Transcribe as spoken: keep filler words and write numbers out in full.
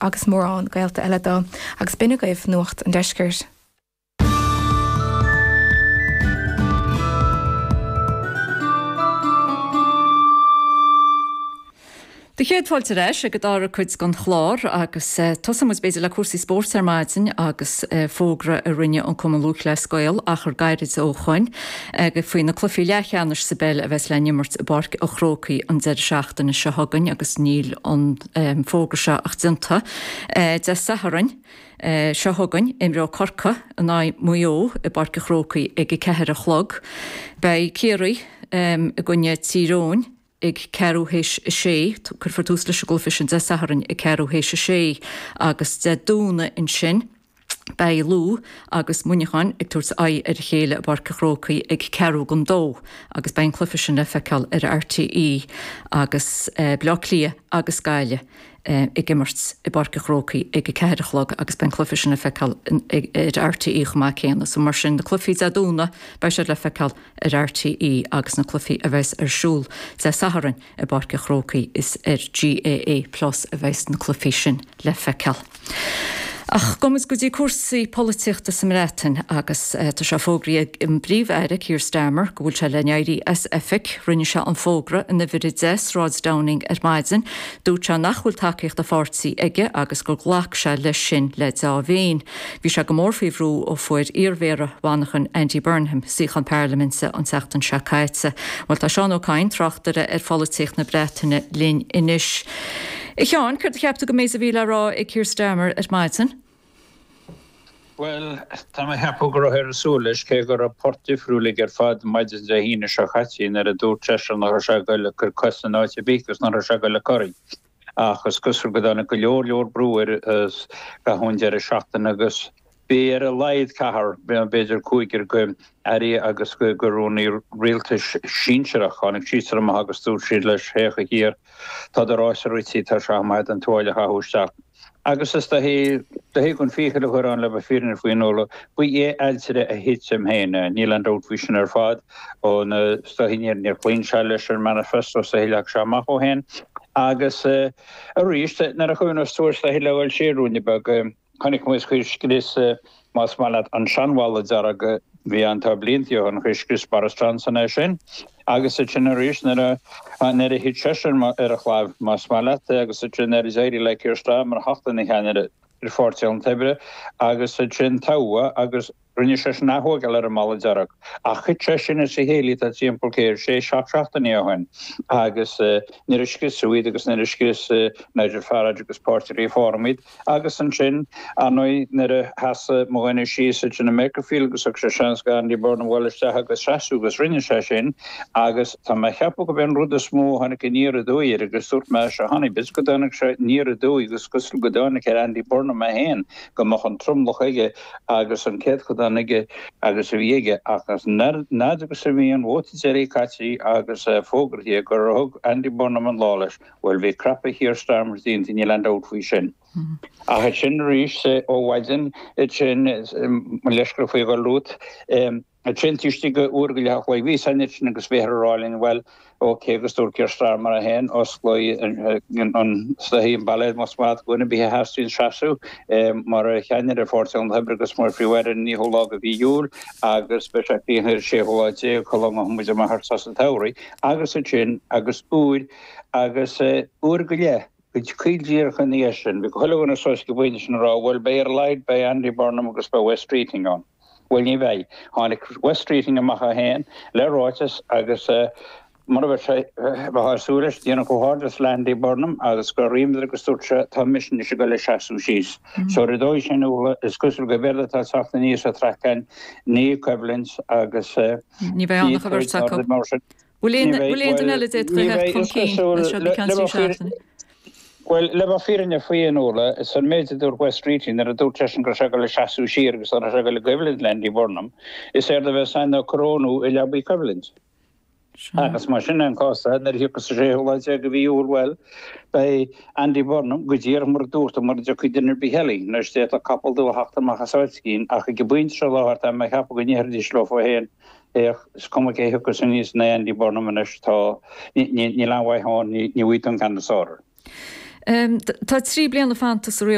agus mórán gaolta eile dó, agus b'in agaibh Nuacht an Deiscirt. Do chéad fáilte ar ais ag an dara cuid den chlár agus tosóidh muid b'fhéidir le cúrsaí spóirt ar maidin agus fógra a rinne an Cumann Lúthchleas Gael achar gairid ó shoin faoi na cluichí leathcheannais sa bpeil a bheas le n-imirt i bPáirc an Chrócaigh an deireadh seachtaine seo chugainn agus níl an fógra seo ach déanta Dé Sathairn seo chugainn imreoidh Corcaigh in aghaidh Mhaigh Eo i bPáirc an Chrócaigh ag a ceathair a chlog. Beidh Ciarraí i gcoinne Tír Eoghain ag ceathrú théis a sé. Cuirfear tús leis an gcluiche sin Dé Sathairn ag ceathrú théis a sé agus Dé Domhnaigh ansin beidh Lú agus Muineachán ag tabhairt aghaidh ar a chéile i bPáirc an Chrócaigh ag ceathrú don dó agus beidh an cluiche sin le feiceáil ar RTÉ agus Baile Átha Cliath agus Gaillimh ag imirt i bPáirc an Chrócaigh ag a ceathair a chlog agus beidh an cluiche sin le feiceáil ar RTÉ chomh maith céanna. So mar sin na cluichí Dé Domhnaigh beidh siad le feiceáil ar RTÉ agus na cluichí a bheas ar siúl Dé Sathairn i bPáirc an Chrócaigh is ar GAA Plus a bheas na cluichí sin le feiceáil. Ach gabhfaidh muid go dtí cúrsaí polaitíochta sa mBreatain agus tá sé fógraithe ag an bPríomh-Aire Keir Starmer go bhfuil sé le n-éirí as oifig. Rinne sé an fógra in uimhir a deich Sráid Downing ar maidin. Dúirt sé nach bhfuil tacaíocht a pháirtí aige agus gur ghlac sé leis sin le dea-mhéin. Bhí sé go mór faoi bhrú ó fuair iarmhéara Mhanchain Andy Burnham suíochán parlaiminte an tseachtain seo caite. Bhuel tá Seán Ó Cadhain, tráchtaire ar pholaitíocht na Breataine linn anois. A Sheáin, céard a cheap tú den méid a bhí le rá ag Keir Starmer ar maidin? Bhuel, tá mé ag ceapadh go raibh ag súil leis cé go raibh port difriúil aige ar fad maidin Dé hAoine seo caite nuair a dúirt seisean nach raibh sé ag dul ag cur cos in áit ar bith agus nach raibh sé ag dul ag corraí. Ach is cosúil go dtáinig go leor leor brú air i gcaitheamh an deireadh seachtaine agus bhí ar a laghad ceathrar, b'fhéidir cúigear de airí agus de rúnaí rialtais sinsearach, tháinig siadsan amach agus dúirt siad leis, Féach a Keir, tá do rása rite, tá sé maith an tuáille a chaitheamh isteach. Agus is dóichí, dóichí gan fiacail a chur ann le bheith fírinne faoin Nuala, ba é ailtire a thit em féin é, níl aon dabht faoi sin ar fad, ó na, is dóichí níor, níor chloígh sé leis an manifesto is dóichí a leag sé amach ó shin. Agus arís, nuair a chuimhneos tú air is dóichí le dhul siar ruainne beag, Chonaic muid chuir scrios, más maith leat, an seanbhalla dearg a bhí ann tá blianta ó shin, chuir scrios Boris Johnson é sin. Agus ansin arís nuair a nuair a thit seisean ar a chlaíomh, más maith leat, agus ansin nuair a d'éirigh le Keir Starmer theacht ina cheannaire ar Pháirtí an Lucht Oibre agus ansin toghadh agus Rinne seisean ath-thógáil ar an mballa dearg, ach thit sé sin as a chéile tá timpeall cé sé, seacht seachtainí ó shin agus nuair a scriosadh iad agus nuair a scrios Nigel Farage agus Páirtí Reform iad agus ansin, ar ndóigh, nuair a sheas mo dhuine síos ansin i Makerfield agus thug sé seans do Andy Burnham dhul isteach agus seasamh agus rinne sé sin agus tá mé a cheapadh gurb é an rud is mó a tháinig aniar aduaidh air agus dúirt mé seo cheana, b'fhéidir go dtáinig sé aniar aduaidh agus cosúil go dtáinig ar Andy Burnham é féin go mbeadh an tromlach aige agus an céadchodán aige agus a bhí aige ach fhad agus a bhí an vóta deiridh caite agus fógraithe gur thug Andy Burnham an lá leis, bhuel bhí crapadh Keir Starmer déanta, níl aon dabht faoi sin. Ach ansin arís ó mhaidin ansin, mo leithscéal faoi dhul romhat, Ansin taobh istigh de uair go leith a chloig, bhí a fhios againn ansin agus bhíothar ag rá linn, bhuel, ok, agus dúirt Keir Starmer é féin, osclóidh an soithí an bailéad más maith do dhuine ar bith a theastaíonn seasamh mar cheannaire ar Pháirtí an Lucht Oibre agus mar Phríomh-Aire an naoú lá de mhí Iúil agus beidh sé críochnaithe ar an séú lá déag sula ngabhfaidh muid amach ar sos an tsamhraidh agus ansin agus uair agus uair go leith. Go caol díreach ina dhiaidh sin, bhí chuile dhuine suas ag an bpointe sin ag rá, bhuel, beidh ar a laghad, beidh Andy Burnham agus beidh Wes Streeting ann. Bhuel, ní bheidh. Tháinig Wes Streeting amach é féin le ráiteas agus mar a bheadh sé, bheifeá ag súil leis, déanamh comhghairdeas le Andy Burnham agus gur ríméad agus dúirt sé, tá mise anois ag dul ag seasamh síos. So ar an dóigh sin, Nuala, is cosúil gurb éard atá ag teacht aníos sa traic againn, ní coimhlint agus ní bheidh ann ach an bheirt acu. Bhfuil aon duine eile a d'fhéadfadh a theacht chun cinn as seo go ceann trí seachtaine? Bhuel, le bheith fírinneach faoi, a Nuala, is an méid a dúirt Wes Streeting nuair a dúirt seisean go raibh sé ag dul ag seasamh siar agus nach raibh sé ag dul i gcoimhlint le Andy Burnham, is éard a bheas ann ná corónú i leabaidh coimhlint. Agus más sin é an cás, nuair a thiocfas an séú lá déag de mhí Iúil, bhuel, beidh Andy Burnham go díreach mar a dúirt tú, mura dtiocfaidh duine ar bith eile, anois d'fhéadfadh capall dubh a theacht amach as áit éigin, ach ag an bpointe seo i láthair tá mé ag ceapadh go ndéarfaidís leo féin, Féach, is cuma cé thiocfas aníos in aghaidh Andy Burnham anois, tá, níl aon mhaith ann, ní bhfaighidh tú an ceann is fearr air. Tá trí bliana fanta sa